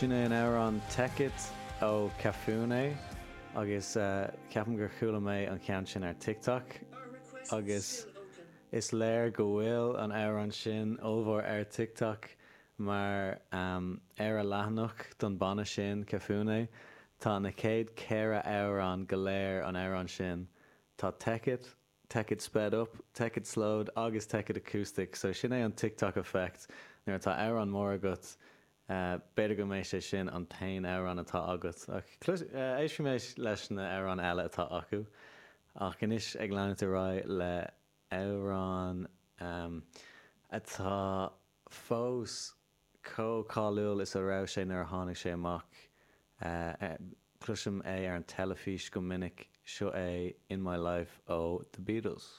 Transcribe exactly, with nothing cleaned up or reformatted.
Sin é an amhrán Take It ó Cafune agus uh, ceapaim gur chuala mé an ceann sin ar TikTok agus is léir go bhfuil an amhrán sin ollmhór ar TikTok mar um, ar a leathanach don banna sin Cafune tá na céad ceithre amhrán go léir an amhrán sin tá Take It, Take It sped up, Take It slowed agus Take It acoustic, so sin é an TikTok effect nuair atá amhrán mór agat Uh, B'fhéidir go mbeidh sé sin an t-aon amhrán atá agat ach éistfidh mé leis na hamhráin eile atá acu ach anois ag leanúint ar aghaidh le amhrán um, atá fós chomh cáiliúil is a raibh sé nuair a tháinig sé amach uh, cloisim é ar an teilifís go minic seo é In My Life ó The Beatles.